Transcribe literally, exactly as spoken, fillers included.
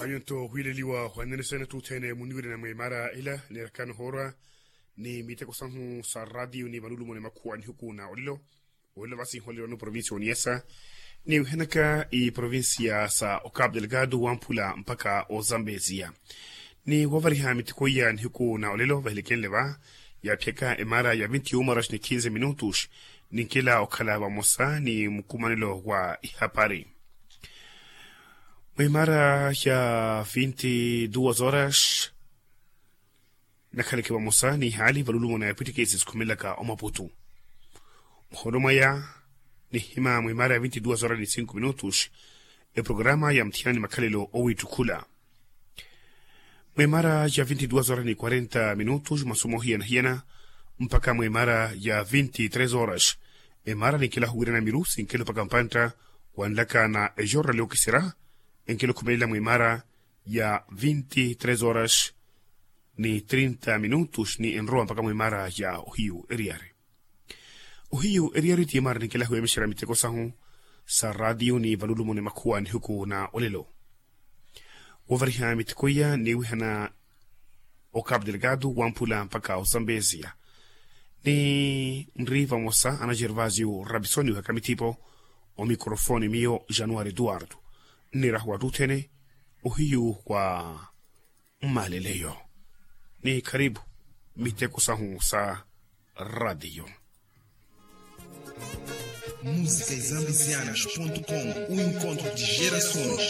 Anyu nto ohwiileliwa hwanene sene tuthene muniwirina mweemara ila neerakana ohoorwa ni miteko sahu sa ratiyo ni valulumo ni makhuwa nihuku na olelo. Olelo vasi nholelo ni provincia oniyasa ni wihanaka iprovincia sa ocapu delgado wamphula mpakha ozambezia. Ni wovariha miteko iya nihuku na olelo vahelekenle va yaphiyaka emara ya vinti umaras ni kinze minutus. Ninkela okhala vamosa ni mukumanelo wa ihapari. Mwimara ya vinti duas horas nakhaleke vamosa ni hali valulumo na yapwitikisi sikhumelaka omaputu. Muhono mwaya nihima mwimara ya vinti duas horas ni cinco minutos. Eprograma ya mthiyani makhalelo owittukhula mwimara ya vinti duas horas ni quarenta minutos masomo hiyana hiyana mpakha mwimara ya vinti tres horas. Emara ninkela huwirana miru sinkelo mpakha mpantta wanlaka na ejorra liokisira enkelo khumelela mwimara ya vinti tres horas ni trinta minutos ni enrowa mpakha mwimara ya ohiyu eriyari. Ohiyu eriyari ti emara ninkela huwemexera miteko sahu sa ratiyo ni valulumo ni makhuwa nihuku na olelo. Wovariha miteko iya niwihana ocapu delgado wamphula mpakha ozambezia. Ni nri vamosa ana gervasio rabisoni wihaka mithipo omikrofoni miyo januari eduardo. Nniraha wattuthene ohiyu wa mmaleleyo. Ni kharipu miteko sahu sa ratiyo. Música e zambizianas ponto com, o encontro de gerações.